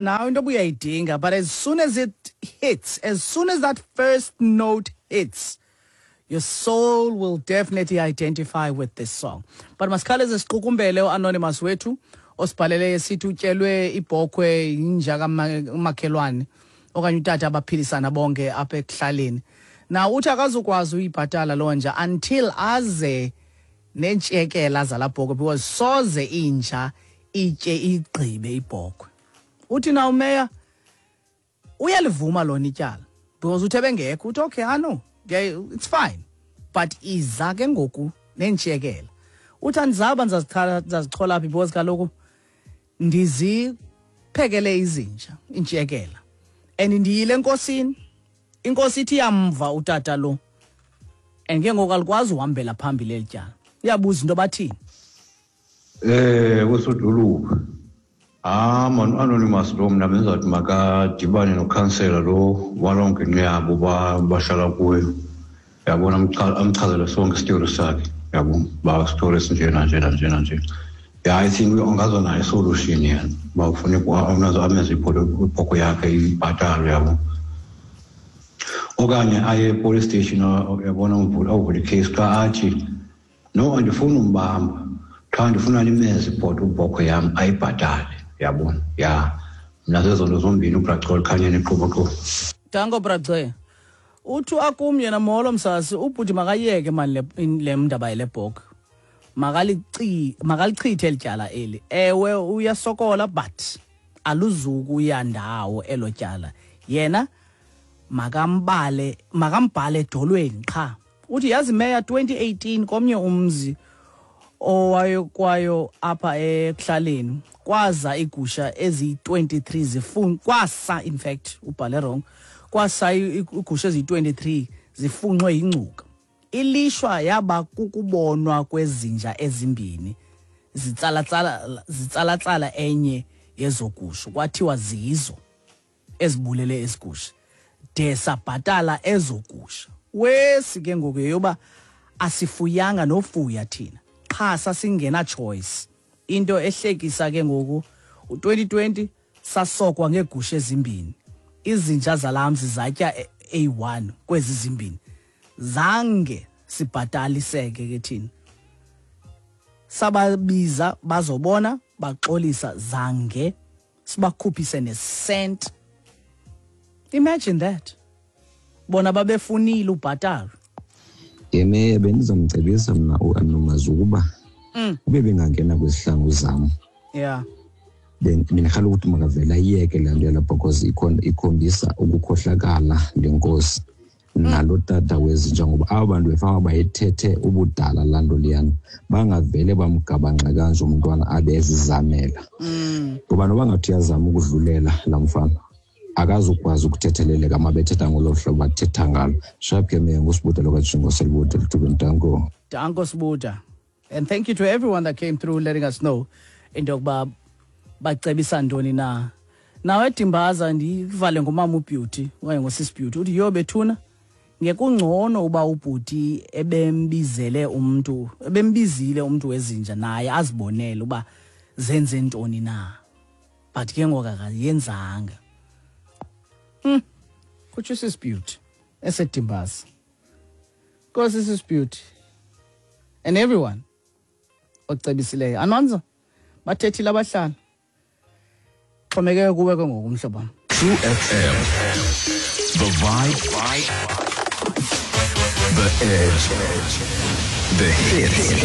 Nawe into obuyayidinga, but as soon as it hits, as soon as that first note hits, your soul will definitely identify with this song. But masikhaleze siqukumbele uanonymous wethu osibhalele esithi utyelwe ibhokhwe yinja kamakhelwane okanye utata abaphilisana bonke apha ekuhlaleni. Na uthi akazukwazi uyibhatala loo nja until aze neentshekela zalaa bhokhwe, because soze inja itye igqibe ibhokhwe. Uthi na umeya uyalivuma lona ityala because uthe bengekho, uthi okay, I know, it's fine, but iza ke ngoku neentshekela. Uthi andizaba ndizazichola phi because kaloku ndiziphekele izinja iintshekela and ndiyile enkosini, inkosi ithi iyamva utata lo and ke ngoku alikwazi uhambela phambili eli tyala. Iyabuza into bathini. Usodolophu. Ah man, anonymous lo mna benzathi makadibane nokhansela lo waloo ngingqi yabo bahlala kuyo. Yabona, amchazele sonke isitori sakhe. Yabo, ba story esinjena njena njena nje. Yeah, I think angaza nayo isolution yena. Uba kufuneka amenze ibhoko yakhe ibhatalwe, yabo. Okanye aye e-police station, uyabona, avule icase xa athi no, andifuni umbamba, qha ndifuna nimeze ibhoto ibhokhwe yam ayibhatale, yabona. Ya, mna zezo nto zombini. Ubracol khanyeni iqhuboqhubo. Danko, brace. Uthi akum yena, molo msasi, ubhuti makayeke mani le ndaba yale bhokhwe, makalichithe eli tyala eli. Ewe, uyasokola but aluzukuya ndawo elo tyala. Yena makambale, makambhale edolweni qha. Uthi yazi meya, 2018 komnye umzi owayekwayo apha ekuhlaleni kwaza igusha eziyi-23 zifun kwasa, in fact ubhale wrong, kwasa igusha eziyi-23 zifunxwe yingcuka. Ilishwa yaba kukubonwa kwezinja ezimbini zitsalatsala enye yezogusha, kwathiwa zizo ezibulele ezigusha, de sabhatala ezogusha. Wesi ke ngoku yeyoba asifuyanga nofuya thina qha, sasingena choice. Into ehlekisa ke ngoku, u-2020 sasokwa ngeegusha ezimbini, izinja zalamzi zatya A1 kwezi zimbini, zange sibhataliseke ke thina. Sababiza bazobona, baxolisa, zange sibakhuphise nesent. Imagine that, bona babefunile ubhatalwa. Yeme, bendizamcebisa mna uAnomazi ukuba ube bengangena kwizihlangu zam, bendirhalela ukuthi makavele ayiyeke laa nto yalapha, because ikhombisa ukukhohlakala le nkosi nalo tata wezinja, ngoba aba bantu befama bayithethe ubudala laa nto leyana, bangavele bamgabanxe kanje umntwana abe ezizamela, ngoba noba ngathi uyazama ukudlulela laa mfana, akazukwazi ukuthetheleleka uma bethetha ngolo hlobo bathetha ngalo. Sharp ke meya, nguSibuda lokaJingo Selibuda lithubeni. Danko. Danko, Sibuda, and thank you to everyone that came through letting us know into yokuba bacebisa ntoni na. Nawe Dimbaza, ndivale ngomama uBeauty okanye ngosisi Beauty. Uthi yho bethuna, ngekungcono uba ubhuti ebembizele umntu, ebembizile umntu wezinja, naye azibonele uba zenze ntoni na, but ke ngoku akayenzanga. Kutsho sis Beauty eseDimbaza. Nkosi, sis Beauty, and everyone ocebisileyo. Anwanza, bathethile abahlali, xhomekeke kuwe ke ngoku, mhlobo wam. True FM. The vibe. The edge. The hits.